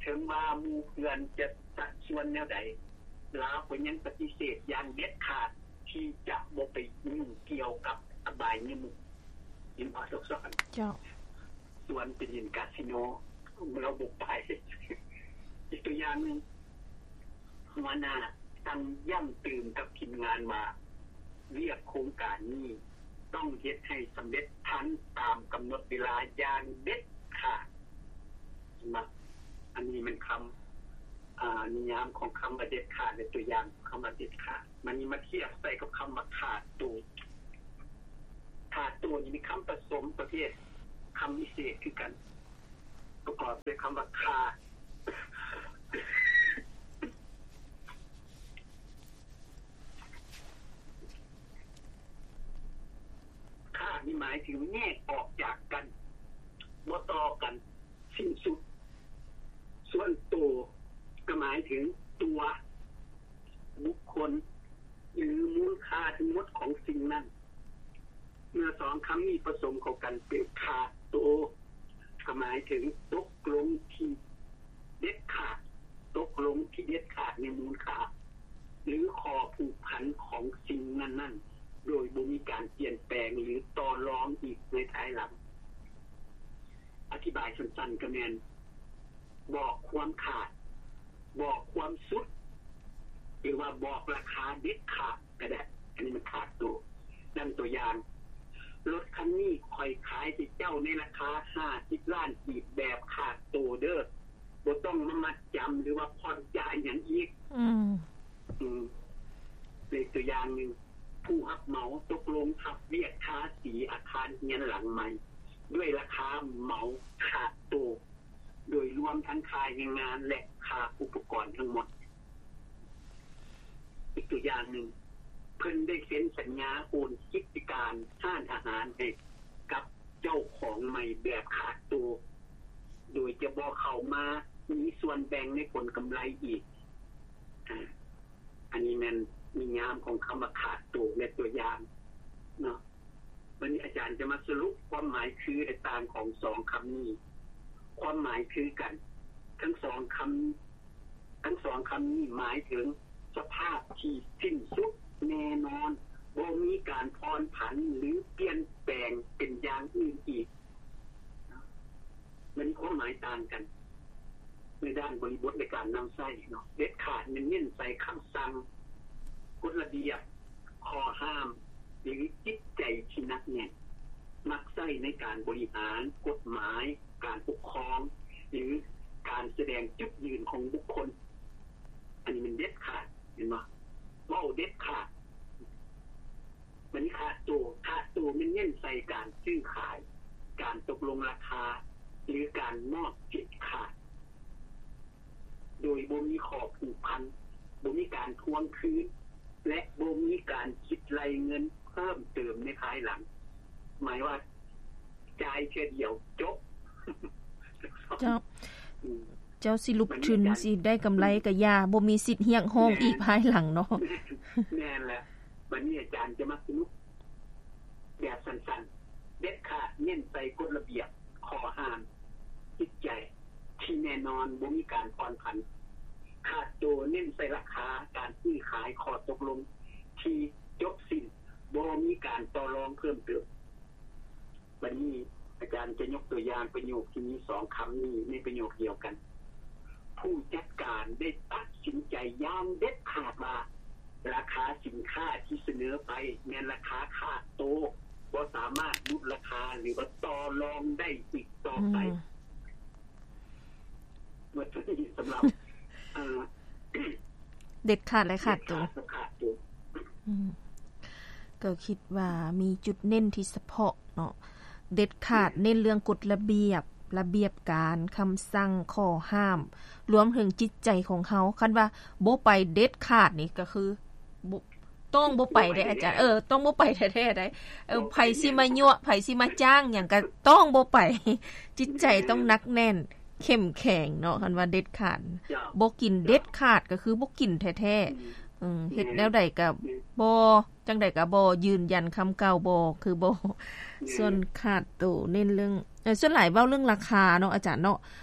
ເຖິງວ່າໝູ່ເພື່ອນຈະຊັກຊວນແນວໃດ, ລາວກໍຍັງປະຕິເສດຢ່າງເດັດຂາດທີ່ຈະບໍ່ໄປຫຍຸ້ງກ່ຽວກັບອະບາຍມຸກ. ເຫັນບໍ່? ເຈົ້າ. ຊວນໄປຫຼິ້ນກາສິໂນ ລາວບໍ່ໄປ. ອີກຕົວຢ່າງໜຶ່ງ, ຫົວໜ້າສັ່ງຢ້ຳຕື່ມກັບທີມງານວ່າ ວຽກໂຄງການນີ້ຕ້ອງເຮັດໃຫ້ສຳເລັດທັນຕາມກຳນົດເວລາຢ່າງເດັດຂາດ. ເຫັນບໍ່? ອັນນີ້ແມ່ນຄຳ ອາ ນິຍາມຂອງຄຳວ່າເດັດຂາດ ແລະ ຕົວຢ່າງຂອງຄຳວ່າເດັດຂາດ. ມານີ້ມາທຽບໃສ່ກັບຄຳວ່າຂາດໂຕ. ຂາດໂຕນີ້ມີຄຳປະສົມປະເພດຄຳວິເສດຄືກັນ. ປະກອບດ້ວຍຄຳວ່າ ຄ່າ. ຄ່ານີ້ໝາຍເຖິງແຍກອອກຈາກກັນ, ບໍ່ຕໍ່ກັນ, ສິ້ນສຸດ. ສ່ວນໂຕກໍໝາຍເຖິງຕົວບຸກຄົນ ຫຼື ມູນຄ່າທັງໝົດຂອງສິ່ງນັ້ນ. ເມື່ອສອງຄຳນີ້ປະສົມເຂົ້າກັນເປັນຄ່າໂຕ ກໍໝາຍເຖິງຕົກລົງທີ່ເດັດຂາດ, ຕົກລົງທີ່ເດັດຂາດໃນມູນຄ່າ ຫຼື ຂໍ້ຜູກພັນຂອງສິ່ງນັ້ນໆ ໂດຍບໍ່ມີການປ່ຽນແປງ ຫຼື ຕໍ່ລອງອີກໃນພາຍຫຼັງ. ອະທິບາຍສັ້ນໆ ກໍແມ່ນບອກຄວາມຂາດ, ບອກຄວາມສຸດ ຫຼືວ່າບອກລາຄາເດັດຂາດກໍໄດ້. ອັນນີ້ມັນຂາດໂຕ. ດັ່ງຕົວຢ່າງ, ລົດຄັນນີ້ຂ້ອຍຂາຍໃຫ້ເຈົ້າໃນລາຄາຫ້າສິບລ້ານກີບແບບຂາດໂຕເດີ້, ບໍ່ຕ້ອງມາມັດຈຳ ຫຼືວ່າຜ່ອນຈ່າຍຫຍັງອີກ. ອືມ ອືມ ເປັນຕົວຢ່າງໜຶ່ງ, ຜູ້ຮັບເໝົາຕົກລົງຮັບວຽກທາສີອາຄານເຮືອນຫຼັງໃໝ່ ດ້ວຍລາຄາເໝົາຂາດໂຕ ໂດຍລວມທັງຄ່າແຮງງານ ແລະ ຄ່າອຸປະກອນທັງໝົດ. ອີກຕົວຢ່າງໜຶ່ງ, ເພິ່ນໄດ້ເຊັນສັນຍາໂອນກິດຈະການຮ້ານອາຫານໃຫ້ກັບເຈົ້າຂອງໃໝ່ແບບຂາດໂຕ ໂດຍຈະບໍ່ເຂົ້າມາມີສ່ວນແບ່ງໃນຜົນກຳໄລອີກ. ອາ ອັນນີ້ແມ່ນນິຍາມຂອງຄຳວ່າຂາດໂຕ ແລະ ຕົວຢ່າງເນາະ. ວັນນີ້ອາຈານຈະມາສະຫຼຸບຄວາມໝາຍຄື ແລະ ຕ່າງຂອງສອງຄຳນີ້. ຄວາມໝາຍຄືກັນ ທັງສອງຄຳ, ທັງສອງຄຳນີ້ໝາຍເຖິງສະພາບທີ່ສິ້ນສຸດແນ່ນອນ, ບໍ່ມີການຜ່ອນຜັນ ຫຼື ປ່ຽນແປງເປັນຢ່າງອື່ນອີກ. ມັນມີຄວາມໝາຍຕ່າງກັນໃນດ້ານບໍລິບົດໃນການນຳໃຊ້ເນາະ. ເດັດຂາດແມ່ນເນັ້ນໃສ່ຄຳສັ່ງ, ກົດລະບຽບ, ຂໍ້ຫ້າມ ຫຼື ຈິດໃຈທີ່ໜັກແໜ້ນ, ມັກໃຊ້ໃນການບໍລິຫານ, ກົດໝາຍ, ການປົກຄອງ ຫຼື ການສະແດງຈຸດຢືນຂອງບຸກຄົນ. ອັນນີ້ແມ່ນເດັດຂາດ, ເຫັນບໍ່? ເວົ້າເດັດຂາດ. ບັດນີ້ຂາດໂຕ, ຂາດໂຕແມ່ນເນັ້ນໃສ່ການຊື້ຂາຍ, ການຕົກລົງລາຄາ ຫຼື ການມອບສິດຂາຍ ໂດຍບໍ່ມີຂໍ້ຜູກພັນ, ບໍ່ມີການທວງຄືນ ແລະ ບໍ່ມີການຄິດໄລ່ເງິນເພີ່ມເຕີມໃນພາຍຫຼັງ. ໝາຍວ່າ ຈ່າຍເທື່ອດຽວຈົບ. ເຈົ້າ ອືມ ເຈົ້າຊິຫຼຸບທຶນ ບັດນີ້ອາຈານ ຊິໄດ້ກຳໄລກໍຢ່າ, ບໍ່ມີສິດຮຽກຮ້ອງ ແມ່ນ ອີກພາຍຫຼັງເນາະ. ແມ່ນແຫຼະ. ບັດນີ້ອາຈານຈະມາສະຫຼຸບແບບສັ້ນໆ ເດັດຂາດເນັ້ນໃສ່ກົດລະບຽບ, ຂໍ້ຫ້າມ, ຈິດໃຈທີ່ແນ່ນອນ, ບໍ່ມີການຜ່ອນຜັນ. ຂາດໂຕເນັ້ນໃສ່ລາຄາ, ການຊື້ຂາຍ, ຂໍ້ຕົກລົງທີ່ຈົບສິ້ນ, ບໍ່ມີການຕໍ່ລອງເພີ່ມເຕີມ. ບັດນີ້ອາຈານຈະຍົກຕົວຢ່າງປະໂຫຍກທີ່ມີສອງຄຳນີ້ໃນປະໂຫຍກດຽວກັນ. ຜູ້ຈັດການໄດ້ຕັດສິນໃຈຢ່າງເດັດຂາດວ່າ ລາຄາສິນຄ້າທີ່ສະເໜີໄປແມ່ນລາຄາຂາດໂຕ, ບໍ່ສາມາດຫຼຸດລາຄາ ຫຼືວ່າຕໍ່ລອງໄດ້ອີກຕໍ່ໄປ. ອືມ ເບິດເທົ່ານີ້ສຳລັບ ເອີ ເດັດຂາດ ແລະ ຂາດໂຕ. ເດັດຂາດ ແລະ ຂາດໂຕ. ອືມ ກໍຄິດວ່າມີຈຸດເນັ້ນທີ່ສະເພາະເນາະ, ເດັດຂາດ ແມ່ນ ເນັ້ນເລື່ອງກົດລະບຽບ, ລະບຽບການ, ຄຳສັ່ງ, ຂໍ້ຫ້າມ, ລວມເຖິງຈິດໃຈຂອງເຮົາ. ຄັນວ່າບໍ່ໄປເດັດຂາດນີ້ ກໍຄືບໍ່ ຕ້ອງບໍ່ໄປເດ້ອາຈານ. ເອີ ຕ້ອງບໍ່ໄປແທ້ໆໄດ໋. ເອີ ບໍ່ໄປ ໃຜຊິມາຍົວະ ແນ່ນອນ ໃຜຊິມາຈ້າງຫຍັງກໍຕ້ອງບໍ່ໄປ. ຈິດໃຈຕ້ອງ ແມ່ນ ໜັກແໜ້ນ ເຂັ້ມແຂງເນາະ. ຄັນວ່າເດັດຂາດ ເຈົ້າ ບໍ່ກິນເດັດຂາດ ກໍຄືບໍ່ກິນແທ້ໆ. ອືມ ເອີ ເຮັດແນວໃດກໍ ແມ່ນ ບໍ່ ຈັ່ງໃດກໍບໍ່ ຢືນຢັນຄຳເກົ່າ ບໍ່ ຄືບໍ່. ແມ່ນ ສ່ວນຂາດໂຕເນັ້ນເລື່ອງ ເອີ ສ່ວນຫຼາຍເວົ້າເລື່ອງລາຄາເນາະອາຈານເນາະ,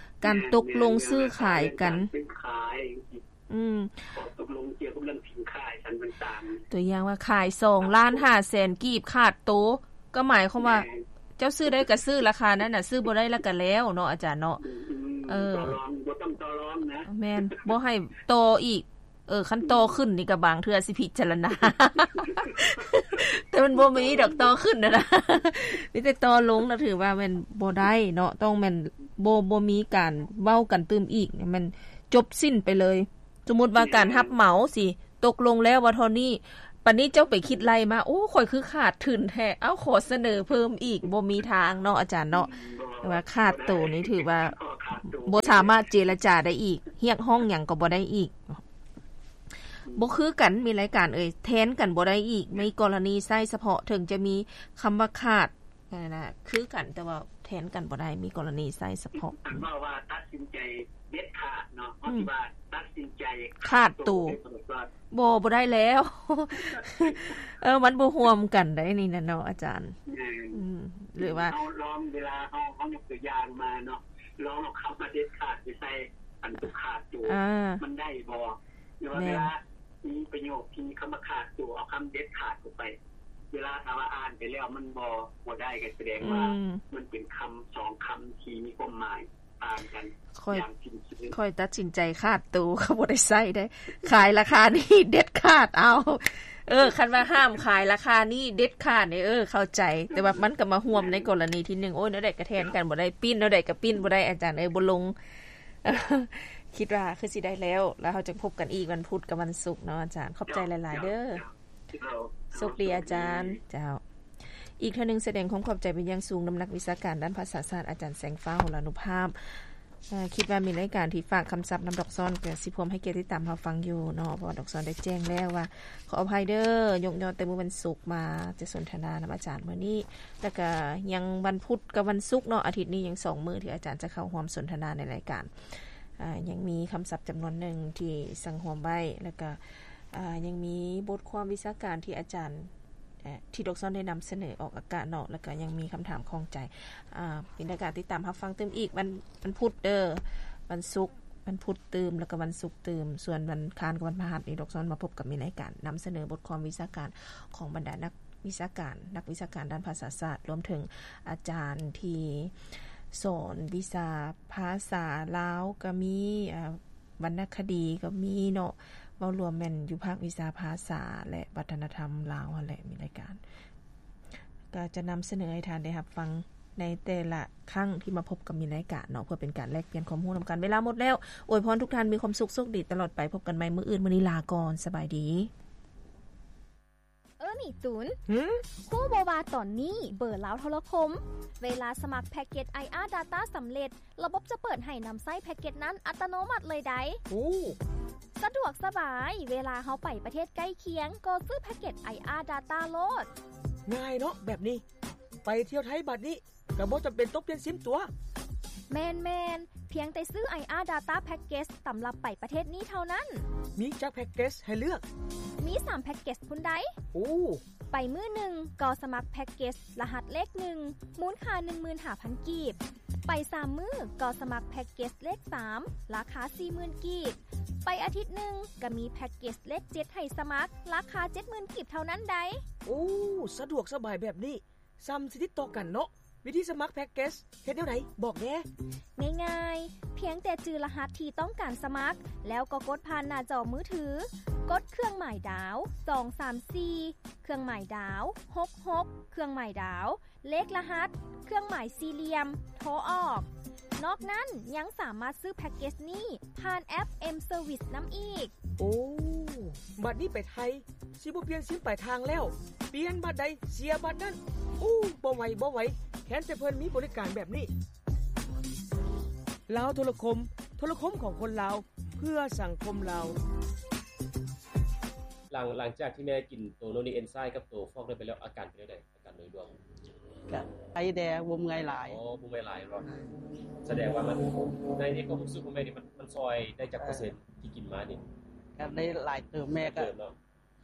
ການ ແມ່ນ ຕົກລົງ ແມ່ນ ຊື້ຂາຍກັນ ການຊື້ຂາຍ ອືມ ຂໍ້ຕົກລົງກ່ຽວກັບເລື່ອງສິນຄ້າສັນຕ່າງໆ. ຕົວຢ່າງວ່າຂາຍສອງລ້ານຫ້າແສນກີບຂາດໂຕ ກໍໝາຍຄວາມວ່າ ແມ່ນ ເຈົ້າຊື້ໄດ້ກໍຊື້ລາຄານັ້ນນະ, ຊື້ບໍ່ໄດ້ລະກໍແລ້ວເນາະອາຈານເນາະ. ອືມ ເອີ ຕໍ່ລອງ ບໍ່ຕ້ອງຕໍ່ລອງນະ. ແມ່ນ ບໍ່ໃຫ້ຕໍ່ອີກ. ເອີ ຄັນຕໍ່ຂຶ້ນນີ້ກໍບາງເທື່ອຊິພິຈາລະນາ ແຕ່ມັນບໍ່ມີດອກຕໍ່ຂຶ້ນນະນະ, ມີແຕ່ຕໍ່ລົງນະ ຖືວ່າແມ່ນບໍ່ໄດ້ເນາະ. ຕ້ອງແມ່ນບໍ່ ບໍ່ມີການເວົ້າກັນຕື່ມອີກ, ແມ່ນຈົບສິ້ນໄປເລີຍ. ສົມມຸດວ່າການຮັບເໝົາຊິຕົກລົງແລ້ວວ່າເທົ່ານີ້, ບັດນີ້ເຈົ້າໄປຄິດໄລ່ມາ ໂອ້ ຂ້ອຍຄືຂາດທຶນແທ້, ເອົ້າ ຂໍສະເໜີເພີ່ມອີກ, ບໍ່ມີທາງເນາະອາຈານເນາະ. ອືມ ແຕ່ວ່າຂາດໂຕນີ້ຖືວ່າ ບໍ່ໄດ້ ຂໍຂ ບໍ່ສາມາດເຈລະຈາໄດ້ອີກ, ຮຽກຮ້ອງຫຍັງກໍບໍ່ໄດ້ອີກ. ບໍ່ຄືກັນ ມີລາຍການເອີຍ, ແທນກັນບໍ່ໄດ້ອີກ. ມີກໍລະນີໃຊ້ສະເພາະ, ເຖິງຈະມີຄຳວ່າຂາດ ນັ້ນນະ ຄືກັນ ແຕ່ວ່າແທນກັນບໍ່ໄດ້, ມີກໍລະນີໃຊ້ສະເພາະ. ຄັນເວົ້າວ່າຕັດສິນໃຈເດັດຂາດເນາະ, ເຮົາ ອືມ ຊິວ່າຕັດສິນໃຈຂາດໂຕ. ຂາດໂຕ. ບໍ່ ບໍ່ໄດ້ແລ້ວ. ເອີ ມັນບໍ່ຮ່ວມກັນໄດ໋ນີ້ນະເນາະ ອາຈານ. ແມ່ນ. ອືມ ຫຼືວ່າເຮົາລອງ ເວລາເຮົາ ເຮົາຍົກຕົວຢ່າງມາເນາະ, ລອງເອົາຄຳວ່າເດັດຂາດໄປໃສ່ອັນຕົວຂາດໂຕ. ອາ ມັນໄດ້ບໍ່? ຫຼືວ່າ ແມ່ນ ເວລາມີປະໂຫຍກທີ່ມີຄຳວ່າຂາດໂຕ, ເອົາຄຳເດັດຂາດເຂົ້າໄປ. ເວລາຖ້າວ່າອ່ານໄປແລ້ວມັນບໍ່ ບໍ່ໄດ້ ກໍສະແດງວ່າ ອືມ ມັນເປັນຄຳສອງຄຳທີ່ມີຄວາມໝາຍຕ່າງກັນ ຂ້ອຍ ຢ່າງສິ້ນເຊີງ. ຂ້ອຍຕັດສິນໃຈຂາດໂຕ ກໍບໍ່ໄດ້ໃຊ້ເດ້. ຂາຍລາຄານີ້ເດັດຂາດ ເອົາ ເອີ ຄັນວ່າຫ້າມຂາຍລາຄານີ້ເດັດຂາດນີ້ ເອີ ເຂົ້າໃຈ. ແຕ່ວ່າມັນກໍມາຮ່ວມໃນກໍລະນີທີໜຶ່ງ. ໂອ້ຍ ແນວໃດກໍແທນກັນບໍ່ໄດ້, ປີ້ນແນວໃດກໍປີ້ນບໍ່ໄດ້ ອາຈານເອີຍ ບໍ່ລົງ. ຄິດວ່າຄືຊິໄດ້ແລ້ວ, ແລ້ວເຮົາຈະພົບກັນອີກວັນພຸດກັບວັນສຸກເນາະອາຈານ. ຂອບໃຈຫຼາຍໆເດີ. ເຈົ້າ ເຈົ້າ ໂຊກດີອາຈານ. ເຈົ້າ ອີກເທື່ອໜຶ່ງສະແດງຄວາມຂອບໃຈເປັນຢ່າງສູງນຳນັກວິຊາການດ້ານພາສາຊາດ ອາຈານແສງຟ້າ ຫົລານຸພາບ. ເອີ ຄິດວ່າມີລາຍການທີ່ຝາກຄຳສັບນຳດອກຊອນ ກໍຊິພ້ອມໃຫ້ກຽດຕິດຕາມຮັບຟັງຢູ່ເນາະ, ເພາະວ່າດອກຊອນໄດ້ແຈ້ງແລ້ວວ່າ ຂໍອະໄພເດີ ຍົກຍອດແຕ່ມື້ວັນສຸກມາຈະສົນທະນານຳອາຈານມື້ນີ້ ແລ້ວກະຍັງວັນພຸດກັບວັນສຸກເນາະ, ອາທິດນີ້ຍັງສອງມື້ທີ່ອາຈານຈະເຂົ້າຮ່ວມສົນທະນາໃນລາຍການ. ອາ ຍັງມີຄຳສັບຈຳນວນໜຶ່ງທີ່ສັງຮວມໄວ້ ແລ້ວກະ ອາ ຍັງມີບົດຄວາມວິຊາການທີ່ອາຈານ ເອີ ທີ່ດອກຊອນໄດ້ນຳສະເໜີອອກອາກາດເນາະ, ແລ້ວກະຍັງມີຄຳຖາມຂ້ອງໃຈ. ອາ ມີລາຍການຕິດຕາມຮັບຟັງຕື່ມອີກ ວັນ ວັນພຸດເດີ, ວັນສຸກ ວັນພຸດຕື່ມ ແລ້ວກະວັນສຸກຕື່ມ. ສ່ວນວັນຄານກັບວັນພະຫັດນີ້ ດອກຊອນມາພົບກັບມີລາຍການນຳສະເໜີບົດຄວາມວິຊາການຂອງບັນດານັກວິຊາການ, ນັກວິຊາການດ້ານພາສາສາດ, ລວມເຖິງອາຈານທີ່ສອນວິຊາພາສາລາວກໍມີ, ອາ ວັນນະຄະດີກໍມີເນາະ, ເວົ້າລວມແມ່ນຢູ່ພາກວິຊາພາສາ ແລະ ວັດທະນະທຳລາວຫັ້ນແຫຼະ ມີລາຍການ. ກໍຈະນຳສະເໜີໃຫ້ທ່ານໄດ້ຮັບຟັງໃນແຕ່ລະຄັ້ງທີ່ມາພົບກັບມີລາຍການເນາະ, ເພື່ອເປັນການແລກປ່ຽນຄວາມຮູ້ນຳກັນ. ເວລາໝົດແລ້ວ, ອວຍພອນທຸກທ່ານມີຄວາມສຸກ, ໂຊກດີຕະຫຼອດໄປ, ພົບກັນໃໝ່ມື້ອື່ນ, ມື້ນີ້ລາກ່ອນ, ສະບາຍດີ. ເອີ ນີ້ຕູນ ຫື? ຮູ້ບໍ່ວ່າຕອນນີ້ເບີລາວໂທລະຄົມ ເວລາສະໝັກແພັກເກັດ ໄອອາ Data ສຳເລັດ ລະບົບຈະເປີດໃຫ້ນຳໃຊ້ແພັກເກັດນັ້ນອັດຕະໂນມັດເລີຍໃດ໋. ໂອ້ ສະດວກສະບາຍ, ເວລາເຮົາໄປປະເທດໃກ້ຄຽງ ກໍຊື້ແພັກເກັດ ໄອອາ Data ໂລດ. ງ່າຍເນາະແບບນີ້, ໄປທ່ຽວໄທບາດນີ້ ກໍບໍ່ຈຳເປັນຕ້ອງປ່ຽນຊິມຕົວະ. ແມ່ນໆ, ພຽງແຕ່ຊື້ ໄອອາ Data Package ສຳລັບໄປປະເທດນີ້ເທົ່ານັ້ນ. ມີຈັກແພັກເກັດໃຫ້ເລືອກ? ມີສາມແພັກເກັດພຸ້ນໃດ໋. ໂອ້ ໄປມື້ໜຶ່ງກໍສະໝັກແພັກເກັດລະຫັດເລກໜຶ່ງ ມູນຄ່າໜຶ່ງໝື່ນຫ້າພັນກີບ. ໄປສາມມື້ກໍສະໝັກແພັກເກັດເລກສາມ ລາຄາສີ່ໝື່ນກີບ. ໄປອາທິດໜຶ່ງກໍມີແພັກເກັດເລກເຈັດໃຫ້ສະໝັກ ລາຄາເຈັດໝື່ນກີບເທົ່ານັ້ນໃດ໋. ໂອ້ ສະດວກສະບາຍແບບນີ້. ສ່ຳຊິຕິດຕໍ່ກັນເນາະ. ວິທີສະໝັກແພັກເກັດເຮັດແນວໃດ? ບອກແດ່. ງ່າຍໆ, ພຽງແຕ່ຈື່ລະຫັດທີ່ຕ້ອງການສະໝັກ ແລ້ວກໍກົດຜ່ານໜ້າຈໍມືຖື, ກົດເຄື່ອງໝາຍດາວ ສອງສາມສີ່ ເຄື່ອງໝາຍດາວ ຫົກຫົກ ເຄື່ອງໝາຍດາວ ເລກລະຫັດ ເຄື່ອງໝາຍສີ່ຫຼ່ຽມ ໂທອອກ. ນອກນັ້ນຍັງສາມາດຊື້ແພັກເກັດນີ້ຜ່ານແອັບ M-Service ນຳອີກ. ໂອ້ ບັດນີ້ໄປໄທ ຊິບໍ່ປ່ຽນຊິມປາຍທາງແລ້ວ, ປ່ຽນບັດໃດເສຍບັດນັ້ນ. ໂອ້ ບໍ່ໄຫວ ບໍ່ໄຫວ, ແຄ້ນແຕ່ເພິ່ນມີບໍລິການແບບນີ້. ລາວໂທລະຄົມ, ໂທລະຄົມຂອງຄົນລາວ ເພື່ອສັງຄົມລາວ. ຫຼັງ ຫຼັງຈາກທີ່ແມ່ກິນໂຕໂນນີເອັນໄຊກັບໂຕຟອກໄດ້ໄປແລ້ວ ອາການເປັນຈັ່ງໃດ? ການໂດຍລວມ ກະໄຄແດ່ ບໍ່ເມື່ອຍຫຼາຍ. ອໍ ບໍ່ເມື່ອຍຫຼາຍເນາະ. ສະແດງວ່າມັນ ໃນ ໃນຄວາມຮູ້ສຶກຂອງແມ່ນີ້ ມັນ ມັນຊ່ອຍໄດ້ຈັກເປີເຊັນທີ່ກິນມານີ້? ກະໄດ້ຫຼາຍເຕີບ. ແມ່ກະ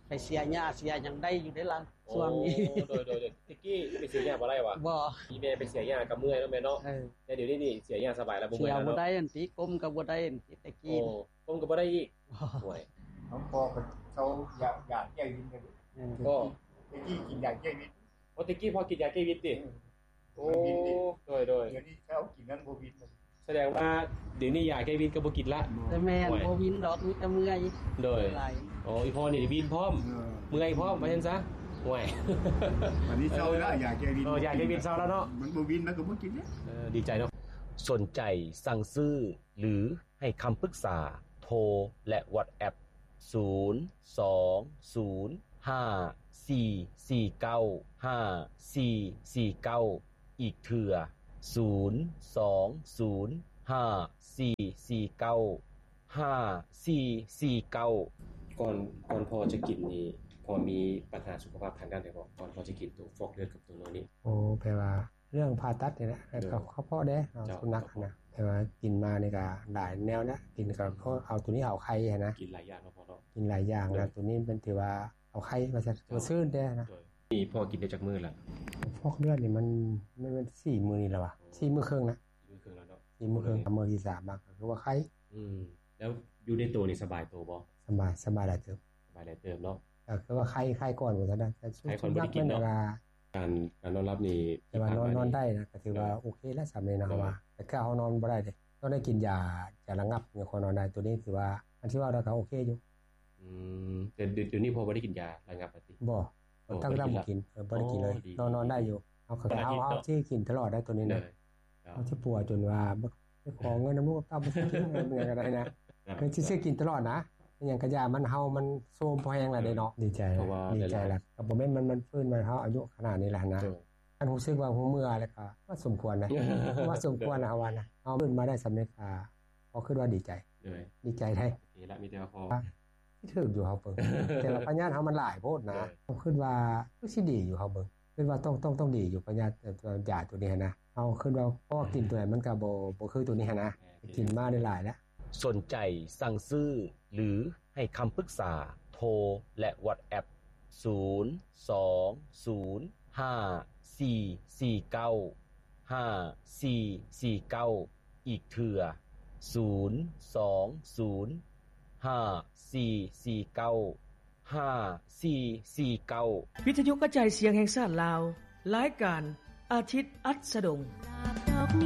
ໄປເສຍຫຍ້າເສຍຫຍັງໄດ້ຢູ່ເດ້ລະ ຊ່ວງນີ້. ໂອ້ ໂດຍ ໂດຍ ໂດຍ. ແຕ່ກີ້ໄປເສຍຫຍ້າບໍ່ໄດ້ຫວາ? ບໍ່. ມີແມ່ໄປເສຍຫຍ້າກໍເມື່ອຍເນາະແມ່ເນາະ. ເອີ ແຕ່ດຽວນີ້ນີ້ເສຍຫຍ້າສະບາຍແລ້ວ ບໍ່ເມື່ອຍແລ້ວເນາະ. ເສຍບໍ່ໄດ້ອັນຕິ ກົ້ມກໍບໍ່ໄດ້ອັນຕິ ແຕ່ກີ້. ໂອ້ ກົ້ມກໍບໍ່ໄດ້ອີກ. ໂອ້ຍ ນ້ອງພໍ່ກໍເຊົາຢາ ຢາແກ້ວິນ. ເອີ ກໍ ແຕ່ກີ້ກິນຢາແກ້ວິນ. ໂອ້ ແຕ່ກີ້ພໍ່ກິນຢາແກ້ວິນຕິ? ເອີ ໂອ້ ມັນວິນເດ້. ໂດຍ ໂດຍ. ດຽວນີ້ເຊົາກິນນັ້ນບໍ່ວິນ. ສະແດງວ່າດຽວນີ້ຢາແກ້ວິນກໍບໍ່ກິນລະ. ແຕ່ແມ່ນ ໂອ້ຍ ບໍ່ວິນດອກ ມີແຕ່ເມື່ອຍ. ໂດຍ. ໂອ້ ອີ່ພໍ່ນີ້ວິນພ້ອມ ເອີ ເມື່ອຍພ້ອມ ວ່າຊັ້ນຊະ. ໂອ້ຍ ອັນນີ້ເຊົາລະ ຢາແກ້ວິນ. ເອີ ຢາແກ້ວິນເຊົາລະເນາະ. ມັນບໍ່ວິນ ມັນກໍບໍ່ກິນເດ້. ເອີ ດີໃຈເນາະ. ສົນໃຈສັ່ງຊື້ ຫຼື ໃຫ້ຄຳປຶກສາ ໂທ ແລະ WhatsApp ສູນ ສອງ ສູນ ຫ້າ ສີ່ ສີ່ ເກົ້າ ຫ້າ ສີ່ ສີ່ ເກົ້າ ອີກເທື່ອ ສູນ ສອງ ສູນ ຫ້າສີ່ສີ່ເກົ້າ ຫ້າສີ່ສີ່ເກົ້າ. ກ່ອນ ກ່ອນພໍ່ຈະກິນນີ້ ພໍ່ມີບັນຫາສຸຂະພາບທາງດ້ານໃດບໍ່? ກ່ອນພໍ່ຈະກິນໂຕຟອກເລືອດກັບໂຕນອນນີ້? ໂອ້ ແປວ່າເລື່ອງຜ່າຕັດນີ້ແຫຼະ ແລ້ວກໍກະເພາະແດ່ ເອົາສຸນັກຫັ້ນນະ ແປວ່າກິນມານີ້ກະຫຼາຍແນວນະ ກິນກະເພາະເອົາໂຕນີ້ເອົາໄຂ່ຫັ້ນນະ ກິນຫຼາຍຢ່າງເນາະພໍ່ເນາະ ກິນຫຼາຍຢ່າງ ແລ້ວໂຕນີ້ມັນຖືວ່າເອົາໄຂ່ວ່າຊັ້ນ ໂດຍ ຊື່ນແດ່ນະ. ໂດຍ ນີ້ພໍ່ກິນໄດ້ຈັກມື້ລະ? ຟອກເລືອດນີ້ມັນ ມັນ ມັນສີ່ມື້ນີ້ແຫຼະຫວາ ສີ່ມື້ເຄິ່ງນະ ສີ່ມື້ເຄິ່ງແລ້ວເນາະ ສີ່ມື້ເຄິ່ງ ມື້ທີສາມມາກໍຄືວ່າໄຂ້. ອືມ ແລ້ວຢູ່ໃນໂຕນີ້ສະບາຍໂຕບໍ່? ສະບາຍ ສະບາຍຫຼາຍເຕີບ ສະບາຍຫຼາຍເຕີບເນາະ ກໍຄືວ່າໄຂ້ ໄຂ້ກ່ອນວ່າຊັ້ນນະ ແຕ່ສຸດ ໄຂ້ກ່ອນບໍ່ໄດ້ກິນເນາະ ການ ການນອນຫຼັບນີ້ ແຕ່ວ່ານອນ ນອນໄດ້ນະ ກໍຖືວ່າໂອເຄແລ້ວ ສ່ຳນີ້ນະ ເຮົາວ່າ ແຕ່ຄືເຮົານອນບໍ່ໄດ້ເດ້ ຕ້ອງໄດ້ກິນຢາ ຢາລະງັບ ຍັງຄ່ອຍນອນໄດ້ ໂຕນີ້ຖືວ່າ ອັນທີ່ວ່າແລ້ວກໍໂອເຄຢູ່. ອືມ ແຕ່ດຽວນີ້ພໍ່ບໍ່ໄດ້ກິນຢາລະງັບລະຕິ? ບໍ່ ຕັ້ງແຕ່ບໍ່ກິນ ເອີ ບໍ່ໄດ້ກິນເລີຍ ນອນ ນອນໄດ້ຢູ່. ເຮົາ ເຮົາ ເຮົາຊິກິນຕະຫຼອດໄດ໋ໂຕນີ້ນະ ເຮົາຊິປົວຈົນວ່າບໍ່ ໄປຂໍເງິນນຳລູກນຳເຕົ້າ ບໍ່ຊື້ກິນຫຍັງກໍໄດ້ນະ ເພິ່ນຊິຊື້ກິນຕະຫຼອດນະ ອີຫຍັງກະຢ່າ ມັນ ເຮົາ ມັນໂຊມພໍແຮງແລ້ວເດ້ເນາະ. ດີໃຈ ດີໃຈລະ ກໍບໍ່ແມ່ນມັນ ມັນຟື້ນມາ ເຮົາອາຍຸຂະໜາດນີ້ແລ້ວນະ ອັນຮູ້ສຶກວ່າຮູ້ເມື່ອແລ້ວກໍວ່າສົມຄວນນະ ວ່າສົມຄວນນະ ເຮົາວ່ານະ ເຮົາຟື້ນມາໄດ້ສ່ຳນີ້ກໍ ພໍຄິດວ່າດີໃຈ ດີໃຈໄດ໋ ໂອເຄລະ ມີແຕ່ວ່າພໍ ຊິຖືກຢູ່ເຮົາເບິ່ງ ແຕ່ວ່າພະຍາດເຮົາມັນຫຼາຍໂພດນະ ເຮົາຄິດວ່າຄືຊິດີຢູ່ເຮົາເບິ່ງ ຄິດວ່າຕ້ອງ ຕ້ອງ ຕ້ອງດີຢູ່ພະຍາດ ເອີ ຢາໂຕນີ້ຫັ້ນນະ ເຮົາຄິດວ່າ ເພາະວ່າກິນໂຕໃດມັນກໍບໍ່ ບໍ່ຄືໂຕນີ້ຫັ້ນນະ ກິນມາໄດ້ຫຼາຍແລ້ວ. ສົນໃຈສັ່ງຊື້ ຫຼື ໃຫ້ຄຳປຶກສາ ໂທ ແລະ ວັອດແອັບ ສູນສອງສູນຫ້າສີ່ສີ່ເກົ້າ ຫ້າສີ່ສີ່ເກົ້າ ອີກເທື່ອ ສູນສອງສູນຫ້າສີ່ສີ່ເກົ້າ ຫ້າສີ່ສີ່ເກົ້າ. ວິທະຍຸກະຈາຍສຽງແຫ່ງຊາດລາວ ລາຍການອາທິດອັດສະດົງ.